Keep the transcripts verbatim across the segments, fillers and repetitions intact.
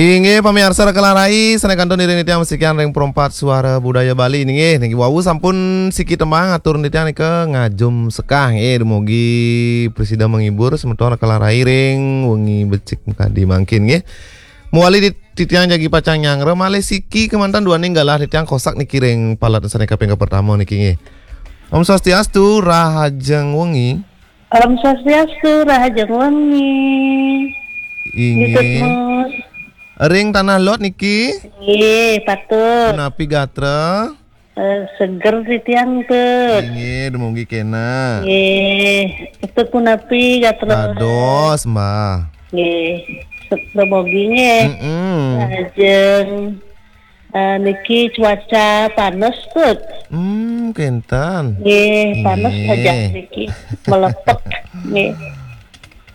Inggih pamiarsa Raka lan Rai, sané kantun iring titiang masikian ring Perempat Suara Budaya Bali nggih. Niki wau sampun siki tembang atur titiang nika ngajum sekah nggih, dumugi prasida menghibur semeton Raka lan Rai ring wengi becik kadi mangkin nggih. Mawali di titiang jagi pacang nyanggra malih siki kemanten duaning galah titiang kosak niki ring palet sané kaping kapertama niki nggih. Om Swastiastu, rahajeng wengi. Om Swastiastu, rahajeng wengi. Inggih. Nggih, Mus. Ring Tanah Lot niki? Nggih, patut. Punapi gatra? Eh, seger titiang, Tut. Inggih, dumugi kena. Nggih, Tut punapi gatra? Dados, Mbah. Nggih, se-, dumugi nggih. Mm-mm. Rahajeng. Eh, niki cuaca panas, Tut. Hmm, kenten. Nggih, panas. Nggih. Aja niki. Melepek. Nggih.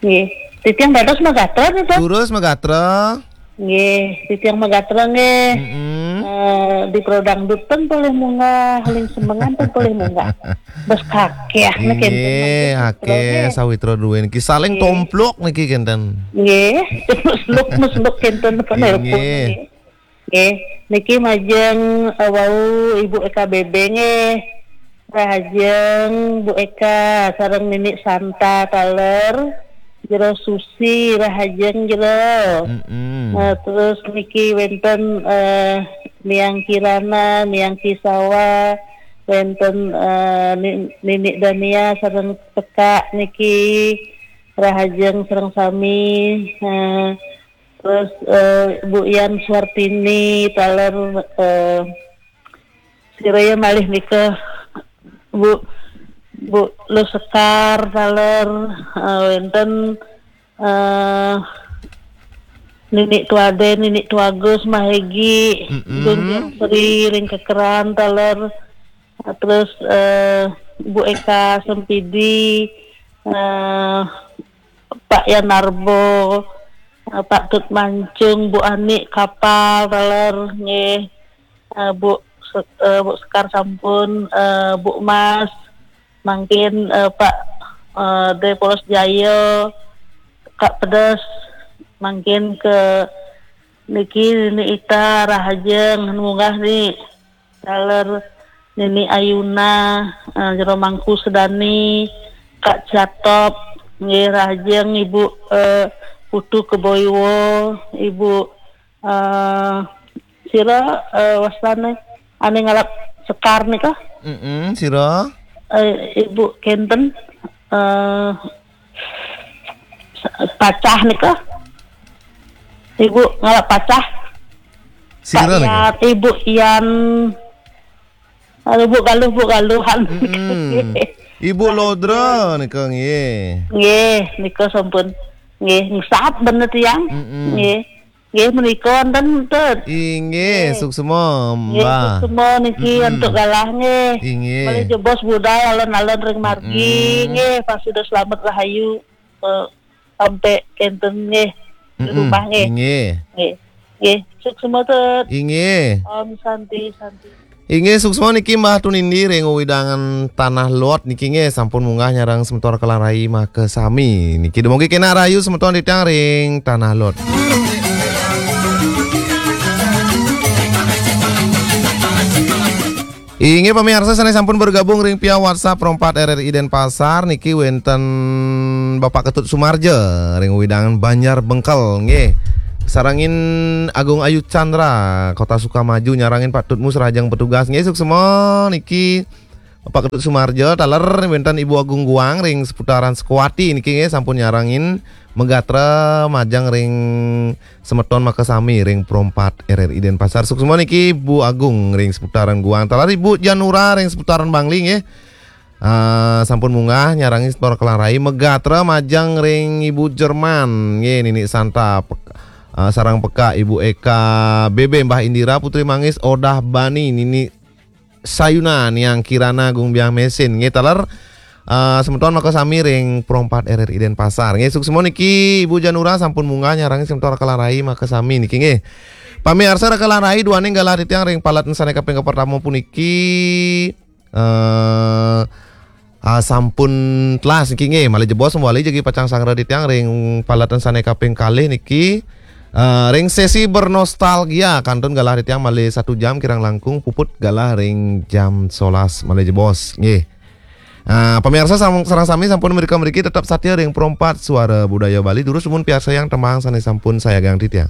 Nggih. Titiang dados magatra nih, Tut. Durus magatra. Nggih, titiang magatra nggih. Mm-mm. Eh, di Pro Dangdut ten polih munggah, ling semengan ten polih munggah. Bes kakéh nih kenten. Inggih, mangkin akéh nggih. Sawitra duwé niki saling, nggih, tomplok niki kenten. Nggih, mesluk-mesluk kenten apa nelpon, inggih, nggih. Nggih, niki majeng, eh, wau Ibu Eka Bebe nggih. Rahajeng Bu Eka sareng Nini Santa taler. Jero Susi rahajeng jero. Mm-mm. Eh, terus niki wénten, eh, Niang Kirana, Niang Kisawa, wénten, eh, Ni-, Nini Dania sareng Peka niki rahajeng sareng sami. Eh, Terus, eh, Bu Yan Suartini taler, eh, sira ya malih nika, Bu, Bu Lusekar taler, eh, wénten, eh, Nini Tuade, Nini Tuagus, Mahegi, mm-mm, Gun Sri ring Kekeran taler, eh, terus, eh, Bu Eka Sempidi, eh, Pak Yanarbo, eh, Pak Tut Mancung, Bu Ani Kapal taler nggih, eh, Bu Se-, eh, Bu Sekar sampun, eh, Bu Mas, mangkin, eh, Pak, eh, Dé Polos Jaya, Kak Pedes, mangkin ke niki Nini Ita rahajeng munggah ni. Taler Nini Ayuna, eh, Jero Mangku Sedani, Kak Catop, nggih rahajeng Ibu, eh, Putu Keboiwo, Ibu, eh, sira, eh, wastané ané ngalap Sekar nika? Mm-mm, sira. Eh, Ibu kenten, eh, Pacah nika. Ibu ngalap Pacah. Sira nika? Pak Yan, Ibu Yan. Aduh, Bu Galuh, Bu Galuhan. Mm-mm. Ibu Lodra nika nggih. Nggih, nika sampun. Nggih, ngesap bener tiang. Mm-mm. Nggih. Nggih, menika wonten, Tut. Inggih, nggih, suksma, nggih, Mbah. Suksma niki, mm-mm, antuk galah nggih. Inggih. Malih jebos budal alon-alon ring margi, mm-mm, nggih, pasuda slamet rahayu, eh, sampai kenten nggih, di, mm-mm, rumah nggih. Inggih. Nggih. Nggih, suksma, Tut. Inggih. Om Santi, Santi. Inggih, suksma niki Mbah Tunindi ring wewidangan Tanah Lot niki nggih, sampun munggah nyarengin semeton Raka lan Rai makasami. Niki dumugi kenak rahayu semeton titiang ring Tanah Lot. Inggih pamiarsa sané sampun bergabung ring via WhatsApp Pro Empat R R I Denpasar niki wénten Bapak Ketut Sumarja ring wewidangan Banjar Bengkel nggih. Sarengin Agung Ayu Chandra, Kota Sukamaju, nyarengin Pak Tutmus rahajeng petugas. Nggih, suksma niki Pak Ketut Sumarja, taler wénten Ibu Agung Guang ring seputaran Sukawati niki nggih, sampun nyarengin magatra majeng ring semeton makasami ring Pro Empat R R I Denpasar. Suksma niki Bu Agung ring seputaran Guang. Taler Ibu Janura ring seputaran Bangli nggih. Ah, sampun munggah nyarengin semeton Raka lan Rai, magatra majeng ring Ibu Jerman nggih, Nini Santa, pek-, ah, sareng Peka, Ibu Eka, Bebe, Mbah Indira, Putri Manggis, Odah Bani, Nini Sayuna, Niang Kirana, Gung Biang Mesin nggih, taler, ah, semeton makasami ring Pro Empat R R I Denpasar nggih. Suksma niki Ibu Janura sampun munggah nyarengin semeton Raka lan Rai makasami niki nggih. Pamiarsa Raka lan Rai, duaning galah titiang ring palet sané kaping kapertama puniki, eh, ah, sampun telas niki nggih, malih jebos mawali jagi pacang sanggra titiang ring palet sané kaping kalih niki. Eh, ring sesi bernostalgia, kantun galah titiang malih satu jam kirang langkung, puput galah ring jam solas malih jebos. Nggih. Ah, pemirsa, sam-, sareng sami sampun mrika mriki, tetep satia ring Pro empat Suara Budaya Bali. Durus dumun piarsayang tembang sane sampun sayagang titiang.